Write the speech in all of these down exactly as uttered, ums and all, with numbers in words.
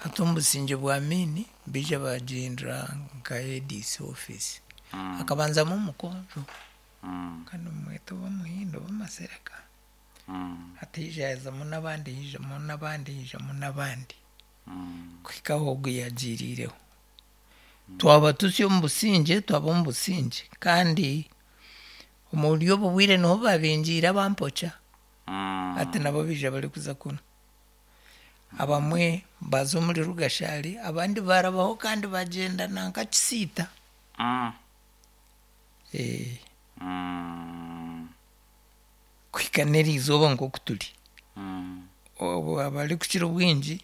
Hati omu busingye bwa Amiini baija baagihindura nka A D C office. Mm. Hakabanzamu omukonjo Mm. kandi mumwete oba Muhindo oba Masereka. Mm. Hati haija hazamu n'abandi, haijamu n'abandi, haijamu n'abandi, Mm. kuhika aho ogu yagiiriireho. Twaba tutsya omu busingye, twaba omu busingye, kandi omuri obu bwire niho babingiire abampokya. Mm. Hati nabo baija barikuza kunu, abamwe baza omuri Rugashari, abandi barabaho kandi bagyenda nanka Kisiita. Mm. Eh, Mm. kuhika n'eriizooba nk'oku turi, Mm. obu abarikukira obwingi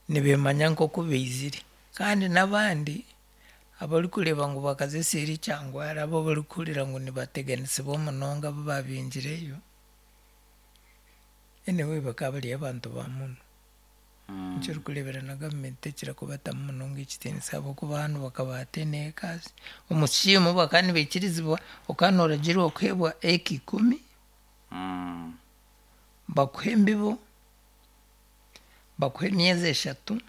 nibemanya nk'oku baizire, kandi n'abandi abarikureeba ngu bakaza eseeri Kyangwara, abo barikuhurira ngu nibateganisibwa munonga abu babingireyo, anyway, bakaba bari abantu ba muno. Mm. Nikyo orikureebera na gavumenti tekira kubatamu munonga ekitiinisa, ahabw'okuba hanu bakabaha ten acres omu scheme, bakaba nibaikirizibwa, okaba nooragirwa kuheebwa eka ikumi, Mm. bakuhe embibo, bakuhe emyezi eshatu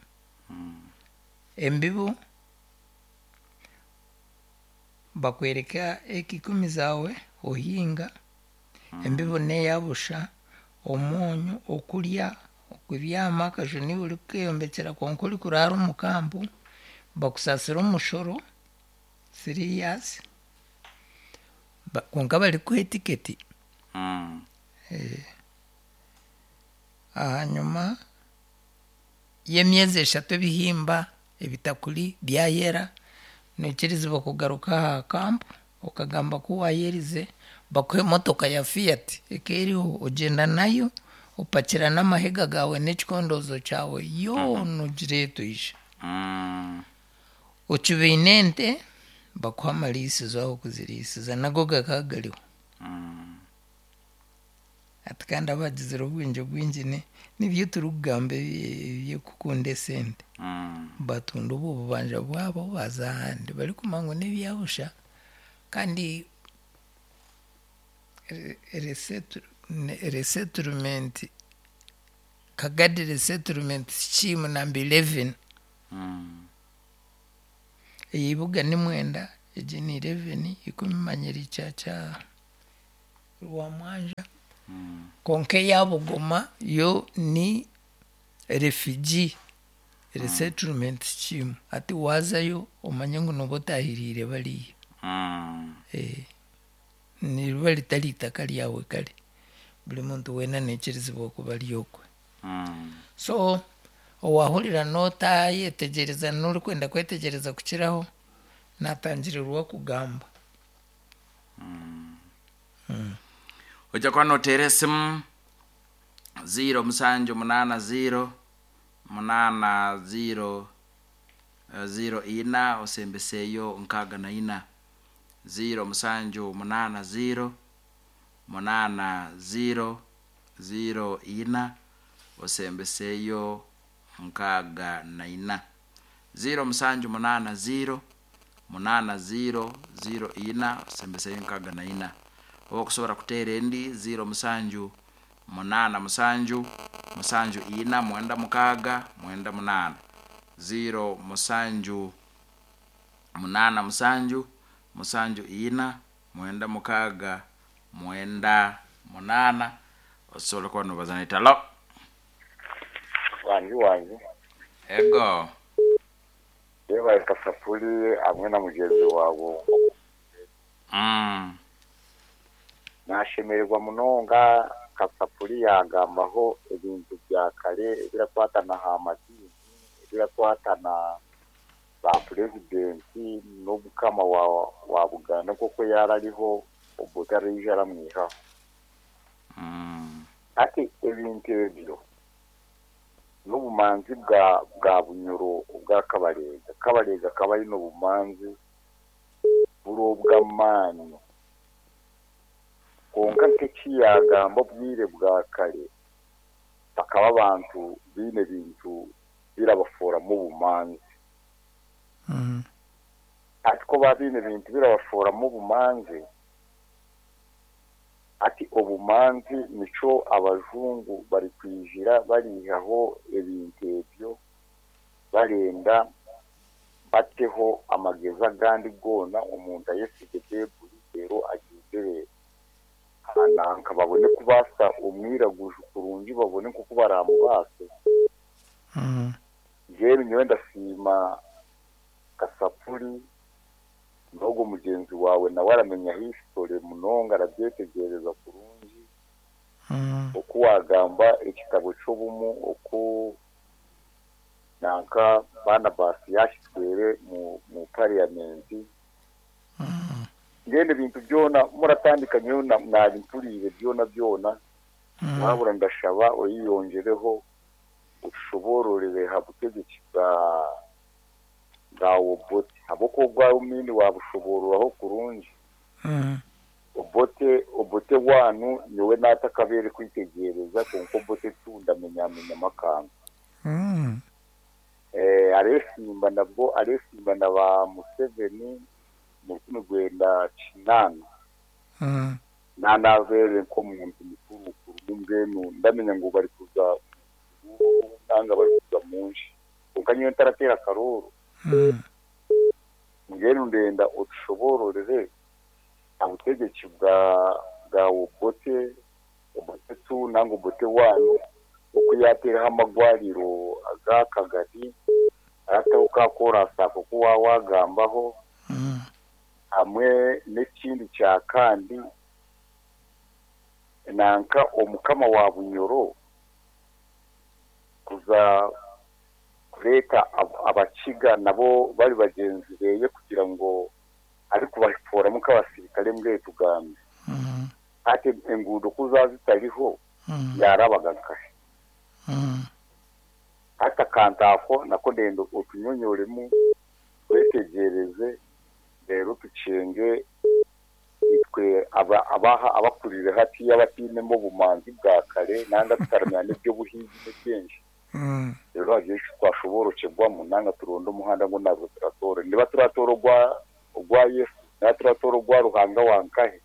embibo, bakwereka eka ikumi zaawe ohinga, embibo n'eya busha, omwonyo, okurya, okubyama, akaju niiwe orikukeeyombekyera, kwonka orikuraara omu kampu, bakusasira omushoro three years. Ba- kwonka barikuha etiketi. Mm. Ahanyuma y'emyezi eshatu ebihimba ebitakuri byayera, noikirizibwa kugaruka aha kampu okagamba ku wayerize, bakuha emotoka ya Fiat eka eriho, ogyenda nayo, opakira n'amahega gaawe n'ekikondoozo kyawe yoona, ogireeta oija. Mm. Okibaine ente, bakuha amariisizo aho kuziriisiza, nago gakaba gariho. Mm. Ati kandi abagizire obwengye bwingi ni- nibyo turikugamba ebi- eby'okukunda esente, Mm. batunda obwo bubanja bwabo, baza ahandi barikumanya ngu n'ebyabusha. Kandi resettlement, Kagadi Resettlement Scheme number eleven. Mm. Eyeibuga ni mwenda, egi ni eleven, ikumi manyire kya kya Rwamwanja. Mm. Konka eya Bugoma yo ni refugee resettlement scheme. Hati waazayo omanye ngu nooba otahiriire bariya. Mm. Eh, niriba ritari itaka ryawe kare, buri muntu weena naikirizibwa kuba ari okwe. Mm. So owahurira n'otayetegyereza n'orikwenda kwetegyereza kukiraho, natangirirwa kugamba. Ojja kuba noteera esimu ziro musanju munaana ziro munaana ziro eh, ziro ina osembeseeyo nkaaga na ina, ziro musanju munaana ziro munaana ziro ziro ina osembeseeyo nkaaga na ina, ziro musanju munaana ziro munaana ziro ziro ina osembeseeyo nkaaga na ina, oba okusobola kuteera endi ziro musanju munaana musanju musanju ina mwenda mukaaga mwenda munaana, ziro musanju munaana musanju musanju ina mwenda mukaaga mwenda munaana, osobola kuba nobaza naita. Hello. Wangi wangi. Ego. Yebaye Kasapuli hamwe na mugenzi wawe. mm. Nashemererwa munonga Kasapuli yagambaho ebintu bya kare ebirakwatana ha madini, ebirakwatana ba purezidenti n'obukama wa, wa Buganda, koko yarariho obwo taraija aramwihaho. Mm. Ati ebintu ebyo n'obumanzi bwa bwa Bunyoro obwa Kabalega. Kabalega akaba aine obumanzi buri obw'amaani, konka nk'eki yagamba, obwire bwa kare bakaba abantu biine ebintu birabaforamu obumanzi. Mm. Ati ko baba biine ebintu birabaforamu obumanzi, ati obumanzi nico abajungu bari kwijira barihaho ebintu ebyo. Barenda bateho amagezi agandi goona omuntu ayesige Baibuli rero agendere hananka babone kubaasa omwiraguju kurungi babone nkoku baramubaase. Mm. Mbwenu nyowe ndasiima Kasapuri n'ogwo mugyenzi waawe nawe aramenya history munonga arabyetegereza kurungi. Mm. Oku wagamba ekitabo ky'obumu oku nanka Barnabas yakitwere mu, mu parliament. Mm. Mbwenu ebintu byona muratandika nyowe na- nabimpuriire byona byona. Mm. Wabura ndashaba oyiyongereho ushobororere ha butegeki bwa bwa Obote habwokuba obwa Amin wabushobororaho kurungi. Mm. Obote Obote wanu nyowe natakabere kwitegereza konka Obote tu ndamenyamenya amakanga. Mm. Eh, aresimba nabwo aresimba na ba Museveni mu rukumi rwenda kinana. Mm. Nanavere nk'omuntu mukuru kuru mbwenu ndamenya ngu bari kuza nanga bari kuza munsi konka nyowe ntaratera akaruru. Mm. Mbwenu ndenda otushobororere obutegeki bwa bwa Obote Obote tu nanga Obote wanu oku yateeraho amagwariro aga Kagari arataho ka korasi ako ku wawagambaho. Mm. Hamwe n'ekindi kya kandi nanka omukama wa Bunyoro kuza kureeta ab- abakiga nabo bari bagyenzi beye kugira ngo ari kubaforamu nk'abasirikare mbwe tugambe. Mm. Ati enguudo kuza zitariho Mm. yarabaga nkahe. Mm. Hati akantu ako nako ndenda otunyonyoremu twetegereze rero tukyenge itwe aba- abaha abakurire hati y'abatinemo obumanzi bwa kare nanga tutaramenya n'eby'obuhingi n'ebyengi. Mm. Rero hagiye twashoborokegwamu nanga turonde omuhanda ngu nabwo turatora niba turatora ogwa ogwa Yesu niba turatora ogwa Ruhanga wankahe.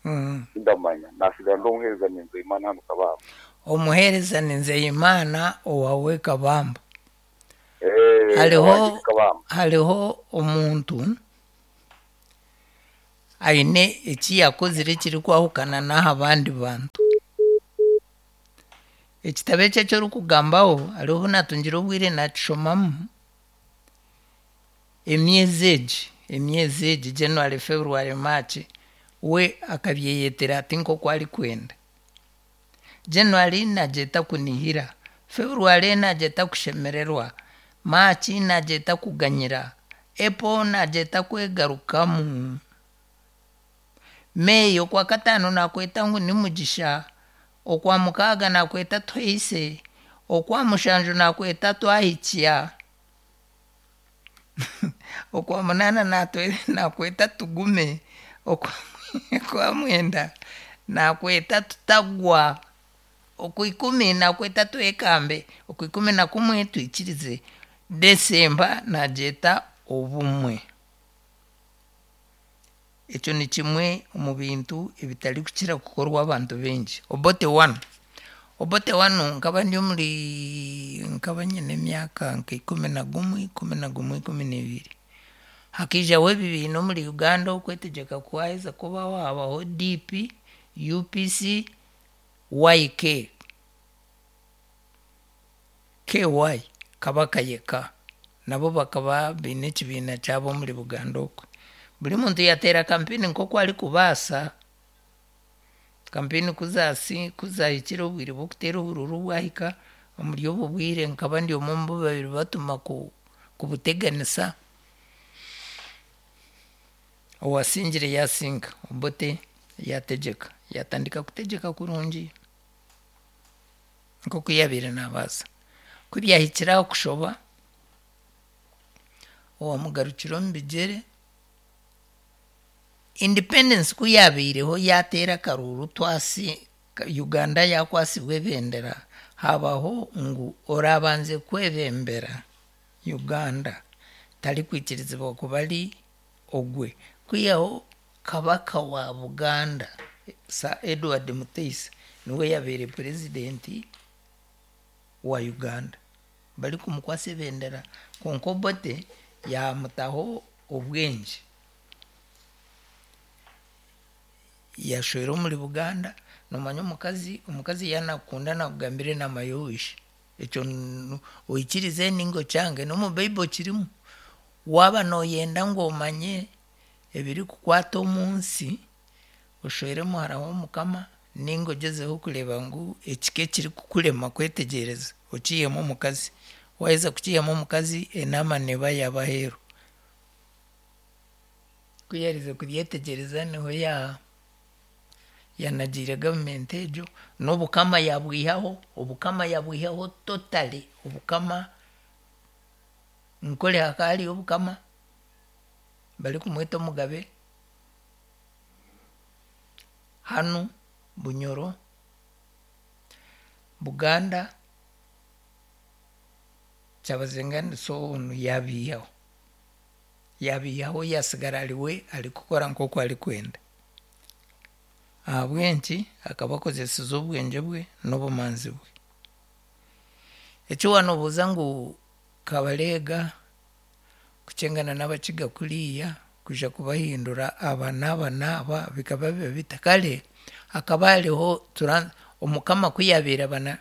Mm. Ndamanya nasigara ndi omuheereza Nzeyimana hano Kabamba. Omuheereza ni Nzeyimana owawe Kabamba. Eh, Hariho owange Kabamba. hariho omuntu aine eki yakozire ekirikwahukana n'aha bandi bantu. Ekitabo ekyo eki orikugambaho hariho natungire obwire nakishomamu. Emyezi egi emyezi egi January, February, March we akabyeyetera ati nk'oku arikwenda. January nagyeta kunihira, February nagyeta kushemererwa, March nagyeta kuganyira, April nagyeta kwegarukamu. May okwa kataano nakweta ngu ni mugisha, okwa mukaaga nakweta twise, okwa mushanju nakweta twahikya, okwa munaana natwe- nakweta tugume, okwa okwa mwenda nakweta tutagwa, okwa ikumi nakweta twekambe, okwa ikumi na kumwe twikirize. Desemba nagyeta obumwe. Ekyo ni kimwe omu bintu ebitarikukira kukorwa abantu baingi. Obote one. Obote one nkaba ndi omuri nkaba nyine emyaka nka ikumi na gumwe, ikumi na gumwe, ikumi n'ebiri. Hakiijaho ebibiina omuri Uganda okwetegyeka kwaheza kubaho habaho D P, U P C, Y K. K Y Kabaka yeka. Nabo bakaba baine ekibiina kyabo omuri Buganda okwe. Buri muntu yateera kampeni nk'oku arikubaasa. Kampeni kuzasi kuzahikire obwire bw'okuteera obururu bwahika omuri obu bwire nkaba ndi omwe omu babiri batuma ku kubuteganisa. Owasingire yasinga Obote yategyeka yatandika kutegyeka kurungi nk'oku yabaire nabaasa. Ku byahikire aho kushoba owamugarukira omu bigyere independence ku yabaireho yateera akaruru twasi Uganda yakwasibwa ebendera habaho ngu orabanze kwebembera Uganda tarikwikirizibwa kuba ari ogwe kwihaho Kabaka wa Buganda Sir Edward Mutesa niwe yabaire purezidenti wa Uganda. Barikumukwasa ebendera, kwonka Obote yamutaho obwengye, yashwera omuri Buganda. Nomanya omukazi omukazi yaanakukunda nakugambira enaama y'owishe, ekyo oikirize ninga okyange, n'omu Bible kirimu. Waaba nooyenda ngu omanye ebirikukwata omu nsi, oshwere muhara w'omukama ninga ogyezeho kureeba ngu ekika ekirikukurema kwetegyereza okiihemu omukazi. Waaheza kukiihamu omukazi, enaama neeba yaaba aheeru. Ku yaaherize kubyetegyereza niho ya yanagiire gavumenti egyo n'obukama yaabwihaho, obukama yaabwihaho totally, obukama Nkore hakaba hariyo obukama barikumweta omugabe, hanu Bunyoro, Buganda, Kyabazinga onu yaabiihaho, yaabiihaho yaasigara ariwe arikukora nk'oku arikwenda. Ahabw'enki? Akaba akozesize obwengye bwe n'obumanzi bwe. Eki waanoobuuza ngu Kabareega kukyengana n'Abakiga kuriya kwija kubahindura aba n'aba n'aba bikaba biba bita? Kare hakaba hariho omukama ku yaabaire aba na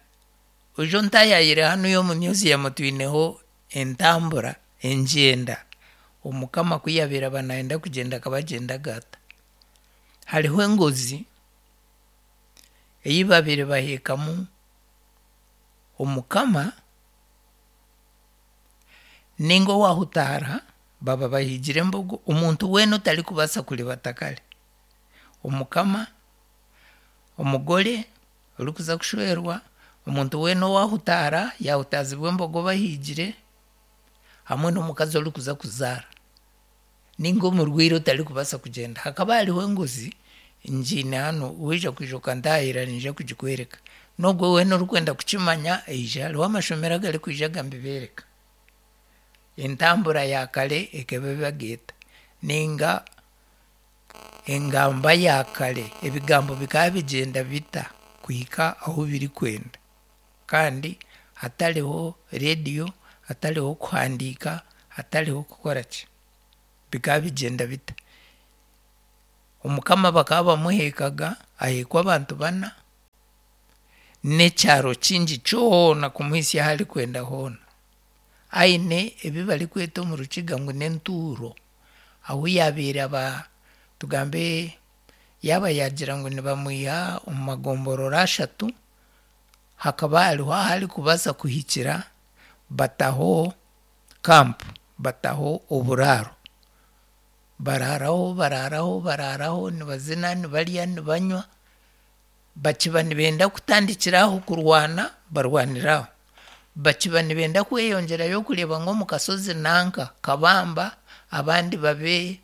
oije ontaayaayire hanuya omu museum twineho entambura, engyenda. Omukama ku yaabaire aba naayenda kugyenda akaba agyendaga ata? Hariho engozi ei baabaire baheekamu omukama ninga owaahutaara baba bahiigire embogo, omuntu weena otarikubaasa kuribata kare. Omukama, omugore orikuza kushwerwa, omuntu weena owaahutaara yaahutaazibwa embogo bahiigire hamwe n'omukazi orikuza kuzaara ninga omurwaire otarikubaasa kugyenda. Hakaba hariho engozi ngiine hanu, waija kwija okantaayira niinyija kugikwereka. N'ogwe weena orikwenda kukimanya aije, hariho amashomero agarikwija aga mbibeereka. Entambura ya kare ekaba ebaga eta ninga engamba ya kare ebigambo bikaba bigyenda bita kuhika ahu birikwenda, kandi hatariho reediyo, hatariho kuhandiika, hatariho kukoraki, bikaba bigyenda bita? Omukama bakaba bamuheekaga aheekwa abantu bana n'ekyaro kingi kyona kumuhisya ahu arikwenda hoona. Aine ebi barikweta omu Rukiga ngu n'entuuro, ahu yaabaire aba tugambe yaaba yaagira ngu nibamwiha omu magomborora ashatu, hakaba hariho ahu arikubaasa kuhikira bataho camp, bataho oburaaro. Baraaraho, baraaraho, baraaraho nibazina, nibarya, nibanywa, bakiba nibenda kutandikira aho kurwana, barwanira aho. Bakiba nibenda kweyongyerayo kureeba ngu omu kashozi nanka Kabamba abandi babe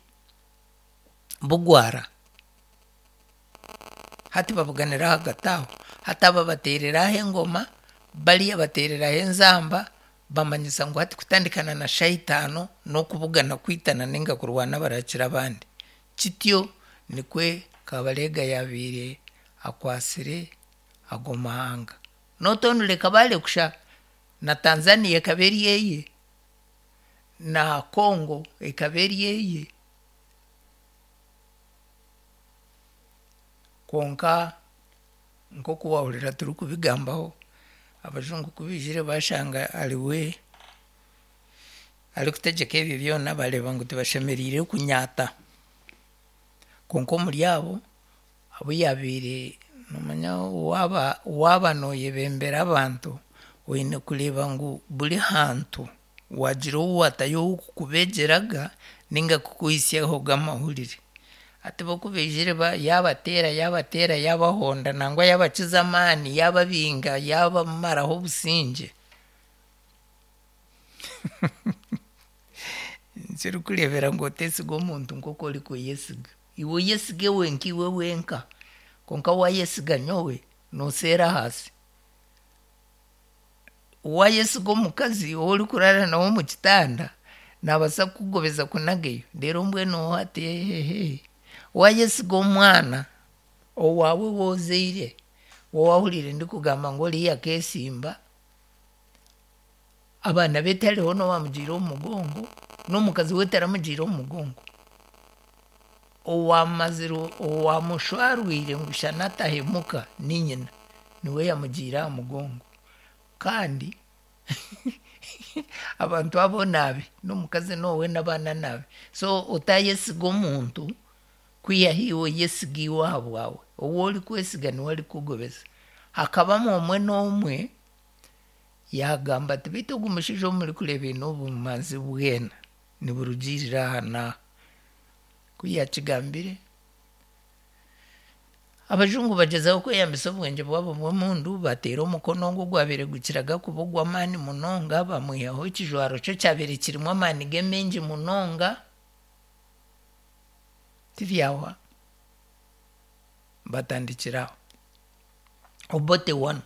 Bugwara, hati babuganira ahagati aho. Hati aba bateerera aho engoma, bariya bateereraho enzamba, bamanyisa ngu hati kutandikana na shaaha itaano n'okubugana kwitana ninga kurwana barakira abandi. Kityo nikwe Kabareega yaabaire akwatsire ago mahanga. Not only Kabale kusha, na Tanzania ekaba eri eye, na Congo ekaba eri eye. Kwonka nk'oku waahurira turikubigambaho, abajungu ku baijire bashanga ariwe arikutegyeka ebyo byona, bareeba ngu tibashemereire kunyaata. Kwonka omuri abo, abu yaabaire noomanya waaba waaba nooyebembera abantu, oine kureeba ngu buri hantu waagira ou waatayo ow'okukubegyeraga ninga kukuhisyahoga amahurire. Hati bo ku baijire yaabateera yaabateera yaabahonda nangwa yaabakiza amaani, yaababinga, yaabamaraho obusingye. Nikyo orikureebera ngu oteesiga omuntu nk'oku orikweyesiga. Iwe oyesige wenka iwe wenka, kwonka waayesiga nyowe, nooseera ahansi. Waayesiga omukazi ou orikuraara nawe omu kitanda, naabaasa kukugobeza akunageyo reero mbwenu hati ehehe. Waayesiga omwana owaawe ou ozaire, ou waahuriire ndikugamba ngu oriya akeesimba, Abaana be tihariho n'owaamugiire omu mugongo, n'omukazi we taramugiire omu mugongo. Owamazire owamushwarwire ngu shana atahemuka ni nyina, niwe yamugiire aha mugongo. Kandi abantu abo naabe, n'omukazi n'owe n'abaana naabe. So otayesiga omuntu kwihaho iwe oyesiga iwe aha bwawe. Ou orikwesiga niwe arikukugobeza. Hakabamu omwe n'omwe yaagamba ati beitu ogu mushaija ou murikureeba aine obumanzi bwena niburugiirira aha n'aha. Ku yaakigambire, abajungu bagyezaho kweyambisa obwengye bwabo bw'emundu bateera omukono ogu ogwabaire gukiraga kuba ogw'amaani munonga, bamwihaho ekijwaro kye ekyabaire kirimu amaani ge maingi munonga, tibyahwa, batandikira aho. Obote one,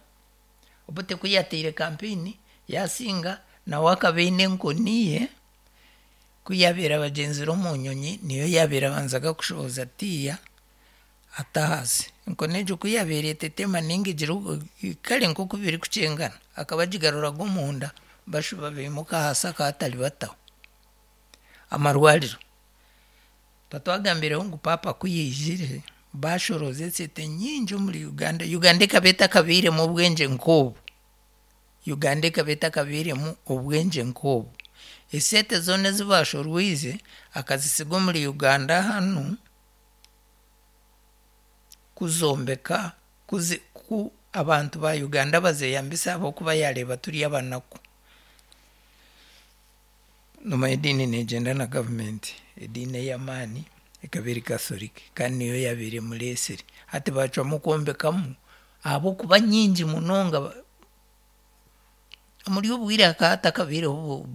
Obote ku yaateire campaign yaasinga, nawe akaba aine enkoni ye, ku yaabaire abagyenzire omu nyonyi niyo yaabaire abanzaga kushohoza tiiya ata ahansi. Enkoni egyo ku yaabaire etetema ninga egira kare nk'oku birikukyengana, akaba agigaruraga omunda bashuba baimuka ahansi akaba ataribataho. Amarwariro, tuba twagambireho ngu paapa ku yaijire baashorooza esente nyingi omuri Uganda. Uganda ekaba etakabairemu obwengye nk'obu. Uganda ekaba etakabairemu obwengye nk'obu. Esente zoona ezi baashorwize akazisiga omuri Uganda hanu kuzombeka kuzi ku abantu ba Uganda bazeyambisa ahabw'okuba yaareeba turi abanaku. Noomanya ediini neegyenda na gavumenti. Ediini ey'amaani ekaba eri Catholic kandi niyo yaabaire emureesire. Hati baacwamu kwombekamu ahabw'okuba nyingi munonga omuri obu bwire hakaba hatakabaireho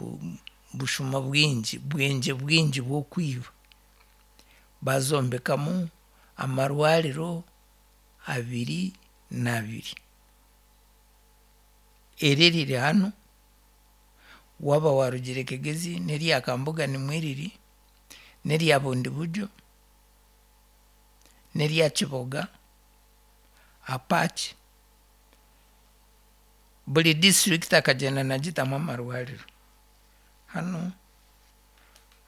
bushuma bwingi, bwengye bwingi bw'okwiba. Bazombekamu amarwariro abiri n'abiri. Eri eriri hanu, waaba waarugire Kigezi n'erya Kambuga nimwo riri, n'erya Bundibugyo, n'erya Kiboga, Apache. Buri disiturikiti akagyenda nagitamu amarwariro. Hanu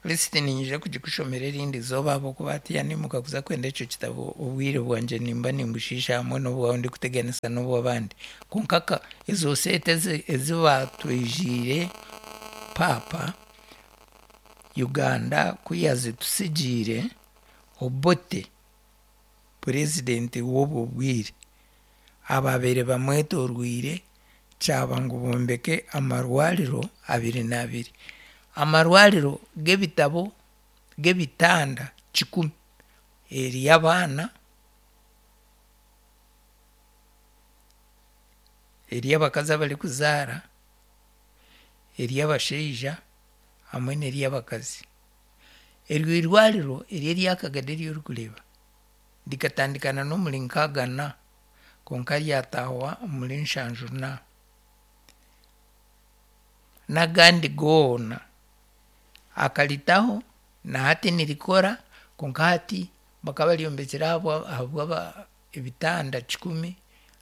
lisiti niinyija kugikushomera erindi izooba ahabw'okuba hatiiya niimuka kuza kwenda ekyo kitabo obwire bwangye nimba nimbushiisha hamwe n'obwawe ndikuteganisa n'obw'abandi. Kwonka ka ezo sente ezi ezi baatwijiire paapa, Uganda ku yaazitusigiire, Obote purezidenti w'obwo bwire, abaabaire bamwetorwire kyaba ngu bombeke amarwariro abiri n'abiri. Amarwariro g'ebitabo g'ebitanda kikumi, ery'abaana, ery'abakazi abarikuzaara, ery'abashaija hamwe n'ery'abakazi. Eryo irwariro eri erya Kagadi eri orikureeba rikatandikana n'omuri nkaaga na kwonka ryatahwa omuri nshanju na. N'agandi goona akaritaho na hati nirikora kwonka hati bakaba baryombekire ahabwa ahabwa ebitanda kikumi,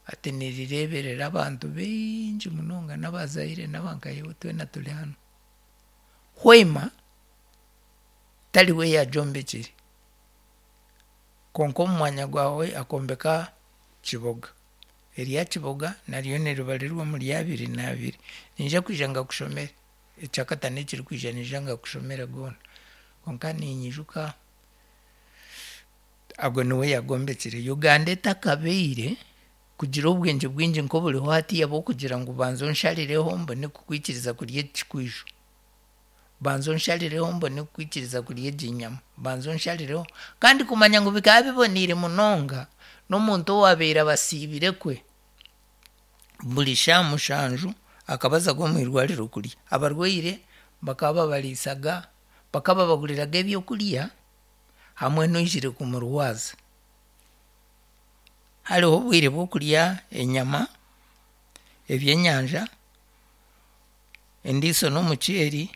hati nirireeberera abantu baingi munonga n'abazaire n'abankahewe twena turi hanu. Hoima tariwe yaagyombekire kwonka omu mwanya gwawe akombeka Kiboga. Erya Kiboga naryo niribarirwa omuri abiri n'abiri. Niinyija kwija ngakushomere, ekyakataano ekirikwija niinyija ngakushomere goona. Kwonka ninyijuka agwo niwe yaagombekire. Uganda etakabaire kugira obwengye bwingi nk'oburiho hatiiya bw'okugira ngu banza onsharireho mbone kukwikiriza kurya eki kikwijo. Banza onsharireho mbone kukwikiriza kurya egi nyama, banza onsharireho. Kandi kumanya ngu bikaba biboniire munonga n'omuntu owaabaire abasiibire kwe, buri shaaha mushanju akaba azaga omu irwariro kurya. Abarwaire bakaba babariisaga, bakaba babaguriraga ebyokurya hamwe n'oijire kumurwaza. Hariho obwire bw'okurya enyama, ebyenyanja, endiiso n'omuceeri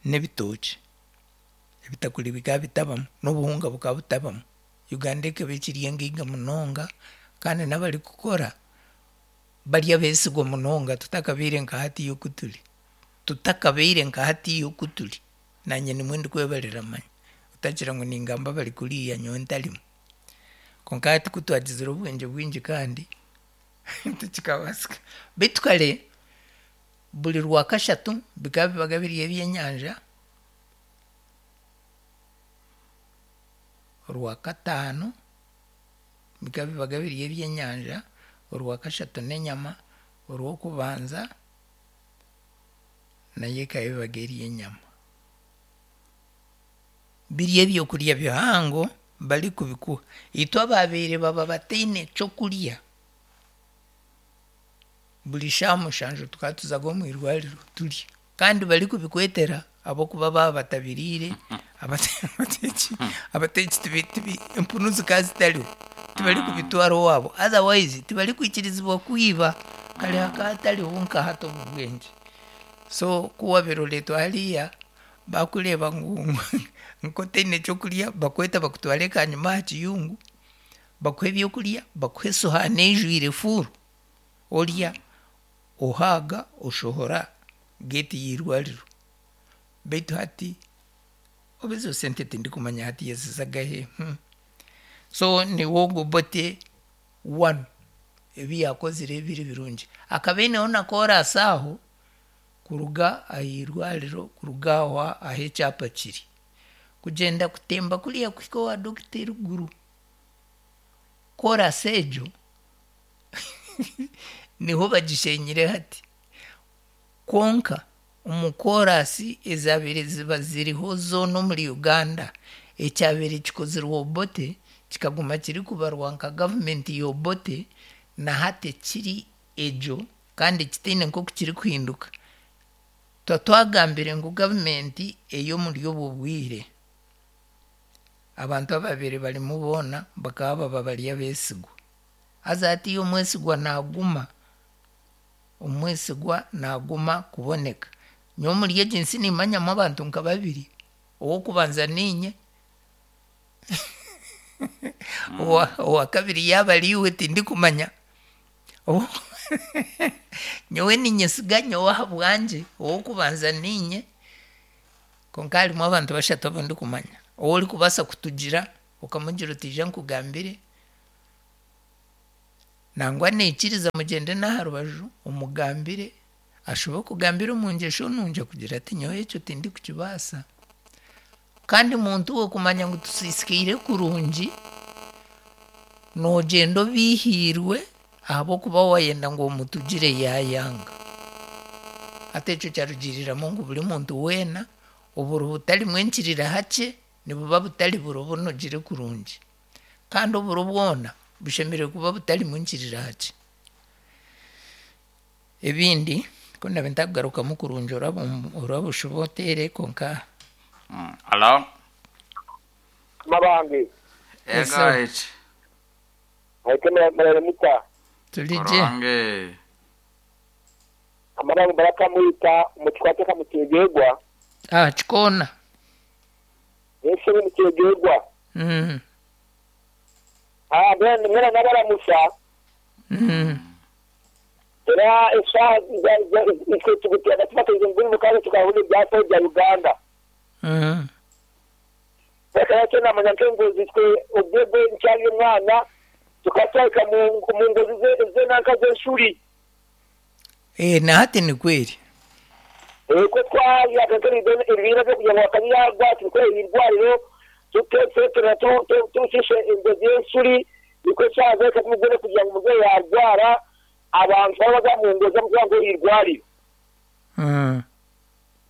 n'ebitookye. Ebitakuri bikaba bitabamu n'obuhunga bukaba butabamu. Uganda ekaba ekiri engaiga munonga kandi n'abarikukora bari abeesigwa munonga tutakabaire nka hatiiya oku turi. Tutakabaire nka hatiiya oku turi. Naanye nimwe ndikwebarira manya. Otagira ngu ningamba bari kuriya nyowe ntarimu. Kwonka hati ku twagizire obwengye bwingi kandi tikikabaasika. Beitu kare buri rwakashatu bikaba bibaga biri ebyenyanja, orwakataano bikaba bibaga biri ebyenyanja, orwakashatu n'enyama, orwokubanza nayo ekaba ebaga eri enyama. Biri ebyokurya bihango barikubikuha. Itwe abaabaire baba bataine kyokurya, buri shaaha mushanju tukaba tuzaga omu irwariro turya. Kandi barikubikwetera ahabw'okuba baaba batabiriire, abateeki abateeki tibi tibi empunu zikaba zitariho, tibarikubitwara owaabo. Otherwise tibarikwikirizibwa kwiba, kare hakaba hatariho nka hati obu bwengye. So ku waabaire oreetwa hariya, bakureeba ngu nk'otaine kyokurya, bakweta bakutware kanyima aha kiyungu, bakuhe ebyokurya, bakuhe esohaani eijwire fuuru, orya, ohaaga, oshohora geeti y'eirwariro. Beitu hati oba ezo sente tindikumanya hati yazizagahe. Hmm. So niwe ogwo Obote one ebi yaakozire biri birungi. Akaba aineho na koorasi aho kuruga aha irwariro kuruga aho ahu ekyapa kiri. Kugyenda kutemba kuriya kuhika owa dokita eriguru. Koorasi egyo niho bagishenyire hati. Kwonka omu koorasi ezaabaire ziba ziriho zoona omuri Uganda, ekyabaire kikozirwe Obote kikaguma kirikubarwa nka gavumenti ya Obote na hati kiri egyo kandi kitaine nk'oku kirikuhinduka. Tuba twagambire ngu gavumenti ey'omuri obwo bwire, abantu ababaire barimu boona bakaba baba bari abeesigwa. Haza hatiiya omwesigwa naaguma, omwesigwa naaguma kuboneka. Nyowe omuri egi nsi nimmanyamu abantu nka babiri, ow'okubanza niinye, owa owa kabiri yaaba ariiwe tindikumanya. Nyowe niinyesiga nyowe ahabwangye, ow'okubanza niinye, konka harimu abantu bashatu abu ndikumanya. Ou orikubaasa kutugira okamugira oti ija nkugambire, nangwa naikiriza mugyende n'aha rubaju omugambire, ashube akugambire omu ngyesho nungi akugira ati nyowe ekyo tindikukibaasa. Kandi muntu we kumanya ngu tusiisikaire kurungi, noogyenda obiihiirwe ahabw'okuba waayenda ngu omutugire yaayanga. Hati ekyo kyarugiiriramu ngu buri muntu weena oburo butarimu enkirira hakye nibuba butari buro bunogire kurungi. Kandi oburo bwona bushemereire kuba butarimu nkirira hakye. Ebindi ku ndabe ntakugarukamu kurungi oraba oraba oshuba oteere konka Mm. Alo? Mabange. Yes, Ego sir. eki. Aite murare muta. Turi gye. Koronge. Amabange barakamwita omukikwate kamutegerwa. Ah, kikoona. Ese mutegerwa. Mm. Ah, bene mwena nabaramusa. Mm. Era esa itwe tugutera tubateze nguni mukaze tukahunda ibyapa bya Uganda. Mm. Reka yacyo namanya nkengozi twe ubwebwe ncyari umwana tukatwika mu mu ngozi ze ze nanka z'eshuri. Eh, na hati ni kweli. Eh, ko twayakakari ibintu byo kugira ngo bakanyagwa tukore irwariro tutetsetera tucishe ingozi y'eshuri niko cyaza kumugore kugira ngo umubyeyi yarwara abantu baba mu ngozi kugira ngo irwarire. Mm.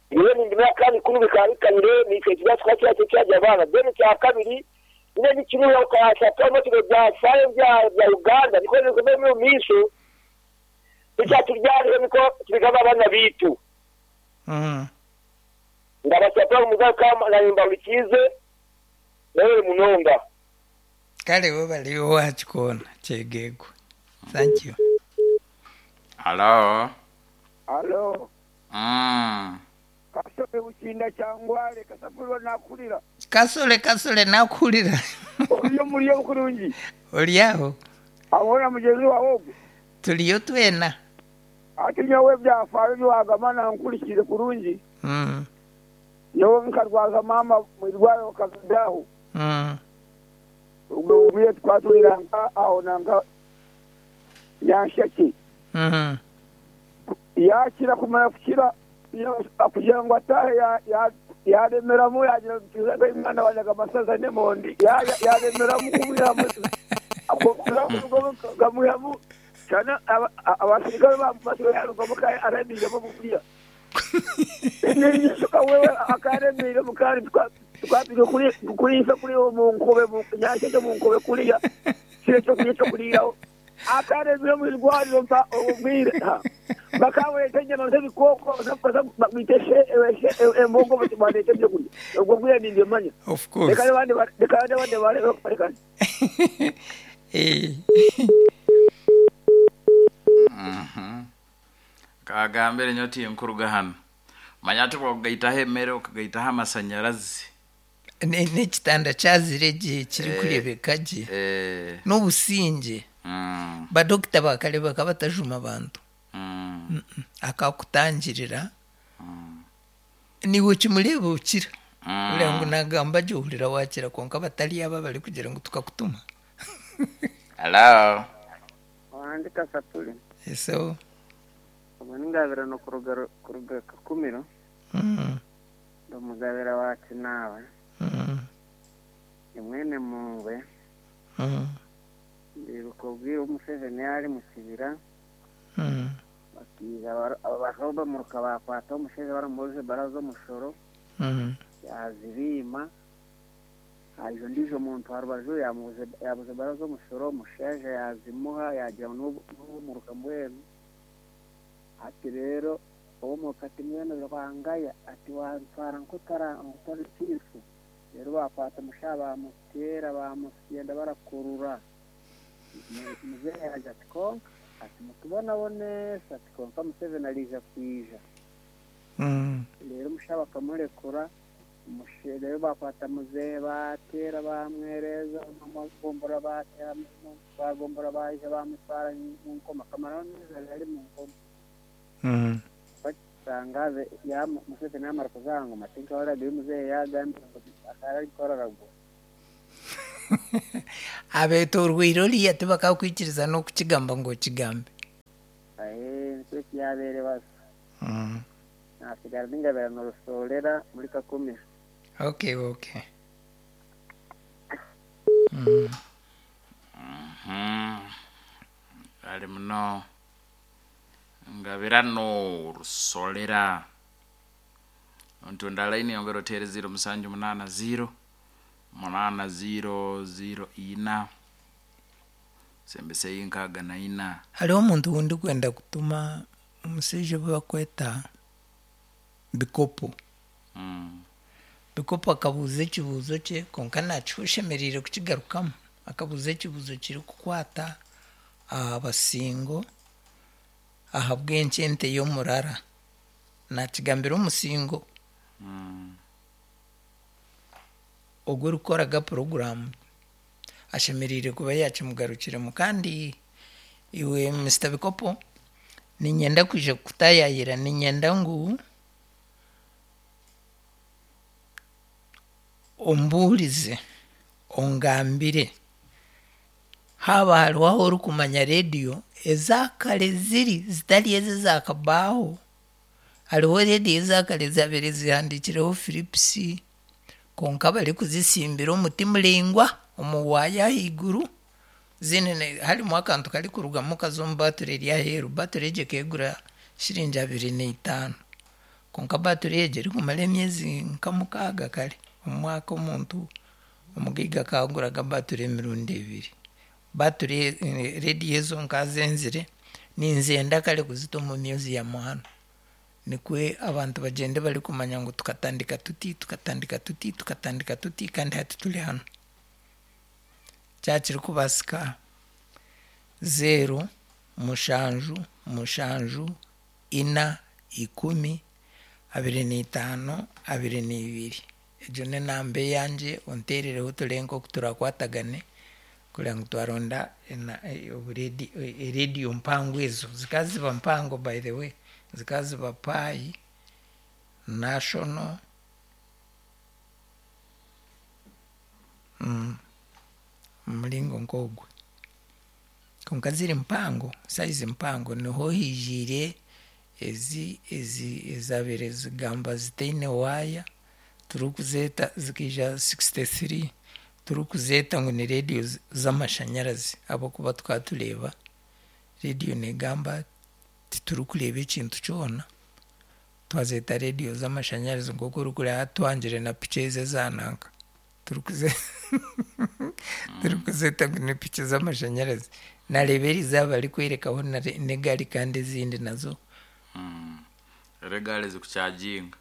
Iyo ni ndimi kandi kuri bikarikanire ni icyo kibazo twacyo cyajya abana deni cya kabiri nyine n'ikiriho ukabasha kubona kino bya sayo bya bya Uganda niko niko muri misho icyaturyariye niko tubigaba abana bitu. Mm. Ndabasaba mugaka na nyimba ulikize nawe munonga. Kale we baliwo wakikoona kyegegwa. Thank you. Alo? Alo. Mm. Kasole bukinda kyangwale kasafulwa nakulira. Kasole kasole nakulira. Oliyo muliyo kurungi. Oli aho. Awona mugezi wawe ogwo. Tuliyo twena. Ati nyowe byafaayo byagamba nankurikire kurungi. Mm. Nyowe nkarwaza mama mu irwariro kagadaho. Mm. Ubwo bwiye twaturira nka aho nanga yanshaki. Mm. Yakira kumara kukira kugira ngo atahe yaremeramu yagira umwana wanyaga amasaza n'emondi yaremeramu kumwiramu gamuyamu cyane abasirikare bamufashe yarugomo aremiremo buriya n'isuka wewe akaremire mukari twapige kuri kuri kuri mu nkobe mu nyashye mu nkobe kuriya kire cyo kuri cyo kuriraho akaremire mu irwariro mpa ubwire bakabonetse inyama z'ibikoko biteshe embongo batete byo kurya ubwo bwire ni manya Of course. Reka n'abandi reka n'abandi barebe reka. Eh. Kagambire nyoti enkuruga hano manya ati bwakugayitaho emere okagaitaho amasanyarazi. Ne- n'ekitanda kyazire gye kiri kurebeka gye Eh, n'obusinge. mm, Badokita bakare bakaba batajuma abantu. mm, Akakutangirira niwe kimureba ukira. Mm. Uriya ngu nagamba gye ohurira wakira konka batari aba bari kugira ngu tukakutuma. Hello. Wandika sapuli. So Ubu ningabirano kuruga kuruga Kakumiro. mm, Ndamugabira wacu nawe. mm, Ni mwene mungwe. mm, Ndibuka ubwira Museveni yari mu kibira. mm, Bakiza abaroba muruka bakwata omushaija baramubuuza ebara z'omushoro. mm, Yazibima. Haija ondiijo muntu aha rubaju yamubuuza yabuuza ebara z'omushoro omushaija yazimuha yagira ngu n'omuruka mbwenu. Ati rero owomuruka ati mbwenu rwangaya ati wantwara nk'otara nk'otari kiifu. Rero bakwata omushaija bamuteera bamusyenda barakurura. Muzehe yagira ati konka ati mutubonabonesa ati konka Museveni ariija kwija. mm. Rero omushaija bakamurekura rero bakwata muzehe bateera bamwereza bagombora bateera bagombora baija bamutwara mu nkoma akamaraho amezi abiri ari mu nkoma. Mm. Bakitangaze ya Museveni yamara kuzanga ngoma tinkahuriraga ebi muzehe yagambire ngu akaba ariko araragura. Abeetorweire oriya tibakakwikiriza n'okukigamba ngu okigambe. Aye nikyo ekyabeire basa. Mm. Nasigara ningabirano rusorera muri Kakumiro. Okay, okay. Mm. Mhm. Ali muno ngabirano rusolera ntunda line yongera otere ziro musanju munana ziro munana ziro ziro ina sembese inkaga na ina. Hariho omuntu wundi kwenda kutuma omushaija obu bakweta Bikopo. Mm. Bikopo akabuuza ekibuuzo kye konka nakiha oshemereire kukigarukamu. Akabuuza ekibuuzo kirikukwata aha basingo ahabw'enki ente y'omurara. Nakigambira omusingo. Mm. Ogwo orikukoraga puroguramu ashemereire kuba yakimugarukiremu kandi iwe Mister Bikopo niinyenda kwija kukutayayira niinyenda ngu ombuurize ongambire haaba hariho ahu orikumanya rediyo ezakare ziri zitari ezi ezakabaho. Hariho rediyo ezakare zabaire zihandiikireho Philips konka barikuzisimbira omuti muraingwa omu waaya ahaiguru ziine harimu akantu karikurugamu kaza omu baaturi eri aheeru. Baaturi egyo ekegura shiringi abiri n'eitaano konka baaturi egyo erikumara emyezi nka mukaaga kare. Omu mwaka omuntu omugaiga akaguraga baaturi emirundi ebiri. Baaturi rediyo ezo nkazenzire ninzenda kare kuzita omu museum hanu. Nikwe abantu bagyende barikumanya ngu tukatandika tuti tukatandika tuti tukatandika tuti kandi hati turi hanu. Kyakirikubaasika zeero mushanju mushanju ina ikumi abiri n'eitaano abiri n'ebiri. Egyo n'enamba eyangye onteerereho turebe nk'oku turakwatagane Kureba ngu twaronda ena- e- oburedi- e- erediyo mpango ezo zikaba ziba mpango, by the way, zikaba ziba Pai, National, mm, omuringo nk'ogwo, konka ziri mpango, size mpango. Niho hijiire ezi ezi ezabaire zigamba zitaine waaya, turikuzeeta zikaija sixty-three, turikuzeeta ngu ni rediyo z- z'amashanyarazi, ahabw'okuba tukaba tureeba rediyo negamba, titurikureeba ekintu kyona, twazeeta rediyo z'amashanyarazi. Nk'oku orikureeba twangire na piki ezi ezananka, turikuze turikuzeeta ngu ni piki z'amashanyarazi. Nareeba eriizooba barikwerekaho na- n'egaari, kandi ezindi nazo Era egaari zikucharginga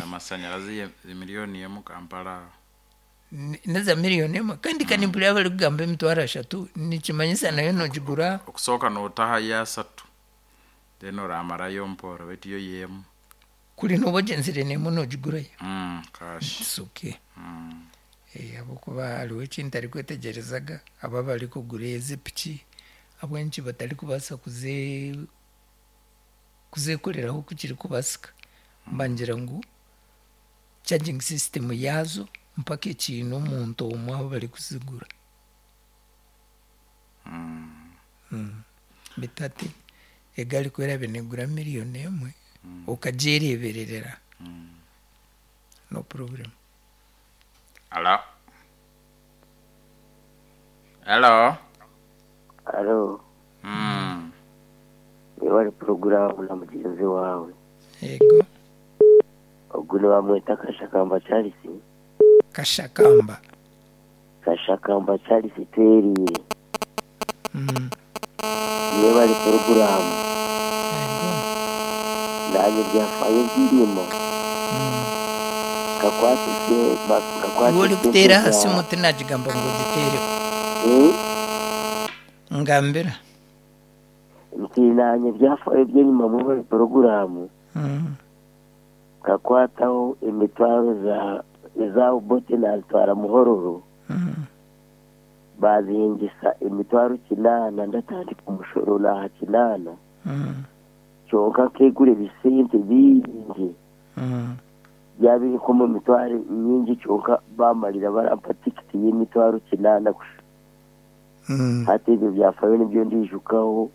amasanyarazi ye- miliyoni emu Kampala. Ni- neza miliyoni emwe, kandi kandi mpurira barikugamba emitwaro ashatu, nikimanyisa nayo nogigura. Okusooka nootahayo asatu, then oramarayo mpora, baitu yo yemu. Kuri noba ogyenzire nemwe nogigurayo. Mm, cash. It's okay. Mm. Eh, ahabwokuba hariho ekintu arikwetegyerezaga, aba barikugura ezi piki, ahabw'enki batarikubaasa kuze kuzekoreraho ku kirikubaasika? Mbangira ngu charging system yaazo mpaka ekiine omuntu omwe ahu barikuzigura. Mm. Bitu hati egaari ku eraabe neegura miliyoni emwe, okagyereebererera, no problem. Hello. Hello. Alo. Mm. Niba ari porogaramu na mugenzi wawe. Yego. Ogu nibamweta Kashakamba Charles. Kashakamba. Kashakamba Charles Tweriire. Mm. Niba ari porogaramu. Yego. Nanjye byafayo byirimo. Mm. Kakwatise kakwatise. Iwe orikuteera aha simu, tinagigamba ngu ogiteereho. Eh? Ngambira. Nti nanye byafayo by'enyuma muri porogaramu. Mm. Kakwataho emitwaro za eza Obote, nazitwara Muhororo. Mm. Bazihingisa emitwaro kinaana, ndatandika omushoro naha kinaana. Mm. Kyonka nkegura ebisente bingi. Mm. Byabiri nko mu mitwaro nyingi, kyonka bamarira barampa tikiti y'emitwaro kinaana kusha. Mm. Hati ebyo byafayo nibyo ndijukaho.